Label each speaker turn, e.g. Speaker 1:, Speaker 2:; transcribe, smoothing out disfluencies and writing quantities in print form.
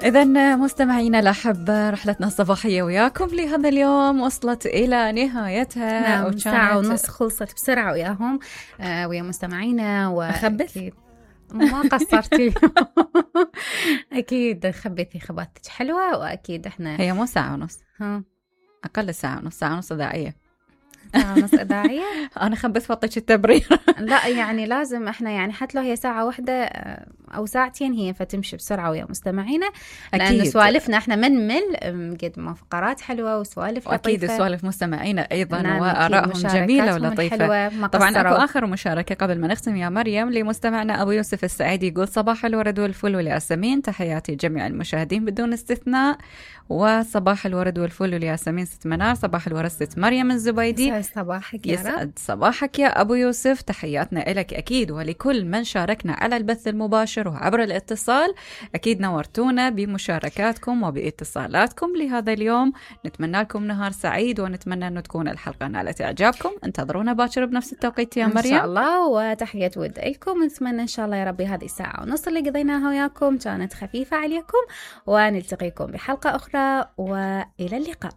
Speaker 1: إذن مستمعينا الأحبة، رحلتنا الصباحية وياكم لهذا اليوم وصلت إلى نهايتها.
Speaker 2: نعم، ساعة ونص خلصت بسرعة وياهم ويا مستمعينا.
Speaker 1: أخبث؟
Speaker 2: ما قصرتي. أكيد خبيتي خباتك حلوة، وأكيد إحنا
Speaker 1: هي مو ساعة ونص،
Speaker 2: ها
Speaker 1: أقل ساعة ونص، ساعة ونص إذاعية.
Speaker 2: ساعة ونص إذاعية.
Speaker 1: أنا خبث فطيك التبرير.
Speaker 2: لا يعني لازم إحنا يعني حتى لو هي ساعة واحدة أو ساعتين هي فتمشي بسرعة ويا مستمعينا، لأن سوالفنا إحنا منمل قد ما فقرات حلوة وسوالف
Speaker 1: أكيد
Speaker 2: لطيفة.
Speaker 1: سوالف مستمعينا أيضا
Speaker 2: نعم،
Speaker 1: وآرائهم جميلة ولطيفة. طبعا أكو آخر مشاركة قبل ما نختم يا مريم لمستمعنا أبو يوسف السعيدي، يقول صباح الورد والفل والياسمين، تحياتي جميع المشاهدين بدون استثناء. وصباح الورد والفل والياسمين ست منار، صباح الورد ست مريم الزبيدي.
Speaker 2: يسعد صباحك يا رب.
Speaker 1: يسعد صباحك يا أبو يوسف، تحياتنا لك أكيد ولكل من شاركنا على البث المباشر وعبر الاتصال. أكيد نورتونا بمشاركاتكم وباتصالاتكم لهذا اليوم. نتمنى لكم نهار سعيد، ونتمنى أن تكون الحلقة نالت إعجابكم. انتظرونا باكر بنفس التوقيت يا مريم
Speaker 2: إن شاء الله، وتحية ود لكم. نتمنى إن شاء الله يا ربي هذه الساعة ونص اللي قضيناها وياكم كانت خفيفة عليكم، ونلتقيكم بحلقة أخرى، وإلى اللقاء.